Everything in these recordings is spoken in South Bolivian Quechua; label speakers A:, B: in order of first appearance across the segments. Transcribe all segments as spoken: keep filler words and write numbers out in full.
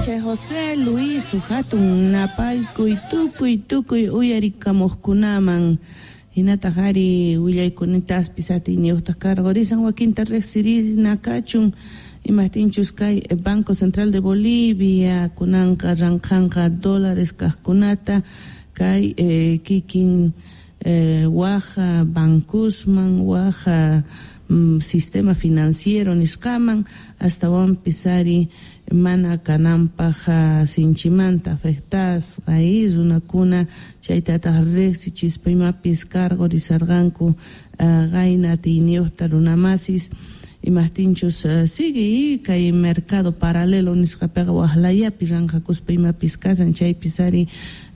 A: Chay José Luis hatun napaykuy tukuy tukuy uyarikamuqkunaman hinataq ari willaykunitaspis atiyniyuqtaq karqurisan wakinta riqsirina kachun imaptinchus kay Banco Central de Bolivia kunanqa ranqanqa dólares kaqkunata kay eh, kikin eh, waj bancosman waj mm, sistema financiero nisqaman astawanpis ari mana kananpaq sinchimanta afectasqa y runakuna chaytataq riqsichispa imapis karqurisarqanku qayna atiyniyuqta runamasis imaptinchus sigue kay mercado paralelo nisqapiqa waqlayapi ranqakuspa imapis kasan chaypis ari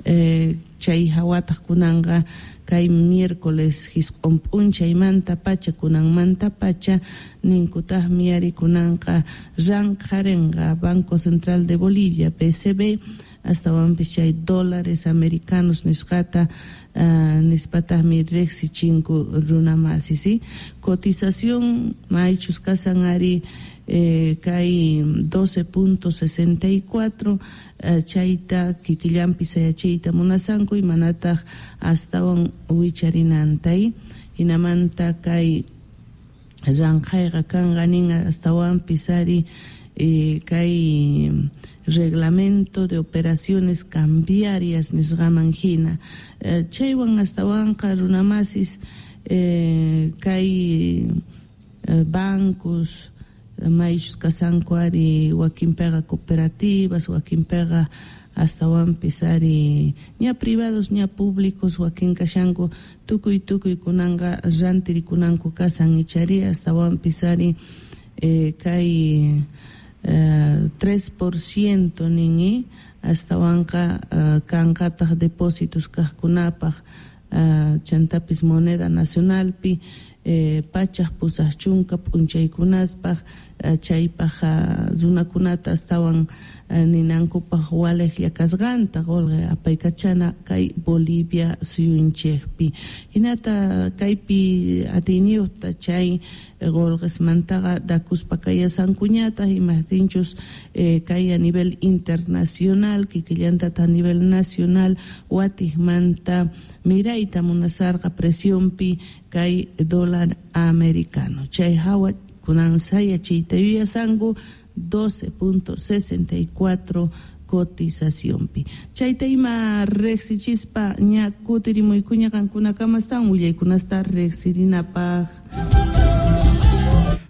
A: eh, chay hawataq kunanqa kay miércoles hisq'un p'unchaymanta pacha kunanmanta pacha ninkutaqmi ari kunanqa ranqarinqa Banco Central de Bolivia B C B astawanpis chay dólares americanos nisqata uh, nispataqmi riqsichinku runamasi ¿sí? Cotización maychus kasan ari eh, kay doce punto sesenta y cuatro eh, chayta kikillanpi sayachiyta munasanku imanataq astawan wicharinantay hinamanta kay ranqayqa kanqa nin astawanpis ari eh, kay reglamento de operaciones cambiarias nisqaman hina eh, chaywan astawanqa runamasis eh, kay eh, bancos maychus kasanku ari wakinpiqa cooperativas wakinpiqa astawanpis ari ña privados ña públicos wakin kashanku tukuy tukuy kunanqa rantirikunanku kasan ichari astawanpis ari eh, kay eh, tres por ciento nin astawanqa uh, kanqataq depósitos kaqkunapaq uh, chantapis moneda nacionalpi eh, pachaq pusaq chunka p'unchaykunaspaq uh, chaypaq uh, runakunata astawan uh, ninankupaq waliqlla kasqanta qulqi apaykachana kay Bolivia suyunchikpi hinata kaypi atiyniyuqta chay qulqismantaqa dakuspa kayasankuñataq imaptinchus eh, kay a nivel internacional kikillantata a nivel nacional watiqmanta mirayta munasarqa presionpi kay dólar americano chay hawa kunan sayachiyta yuyasanku doce punto sesenta y cuatro cotizacionpi chayta ima riqsichispa ña kutirimuykuña qankunakamastan willaykunasta riqsirinapaq.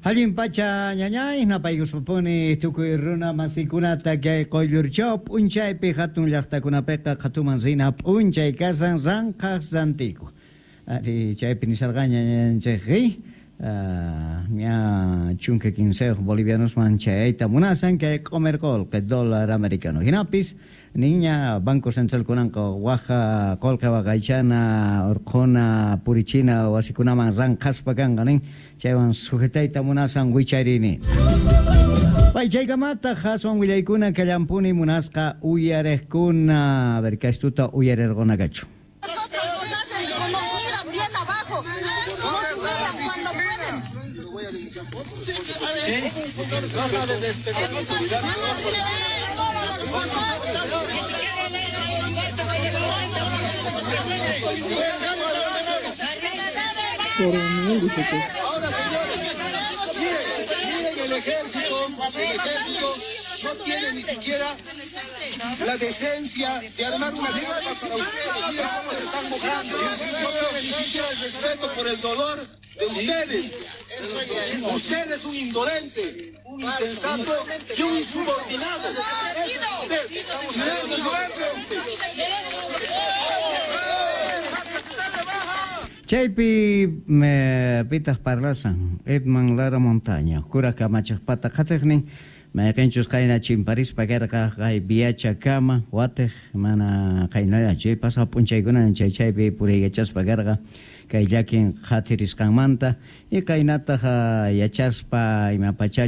B: Allin pacha ñañay napaykuspapuni tukuy runa masikunata kay quyllurchaw p'unchaypi hatun llaqtakunapiqa qhatuman rina p'unchay kasan ranqaq rantiku ari chaypi nisarqaña ñañanchikri ña chunka quinsayuq bolivianosman chayayta munasan kay q'umir qullqi dólar americano hinapis niña Banco Central kunanqa waja qullqi waqaychana urqhuna purichina wasikunaman ranqaspa kanqa nin chaywan sujetayta munasan wicharini. Pay chaykamataq aswan willaykuna kallampuni munasqa uyariqkuna a ver kaystuta uyarirqunakachu.
C: No sabe respetar la autoridad. Ahora, señores, miren, miren el ejército, el ejército no tiene ni siquiera la decencia de armar una guerra para ustedes. Miren cómo se están mojando. No tiene ni siquiera el respeto por el dolor de ustedes. Usted es un indolente, un insensato y un insubordinado. Usted,
B: Chaypi pitaq parlasan Edman Lara Montaña, kuraq kamachaqpata qhatiqnin mayqinchus qayna chimparispa karqa kay viachakama watiq mana qaynalla chay pasaq p'unchaykuna chay chaypi puriykachaspa karqa kay llakin qhatirisqanmanta y qaynataq yachaspa ima pacha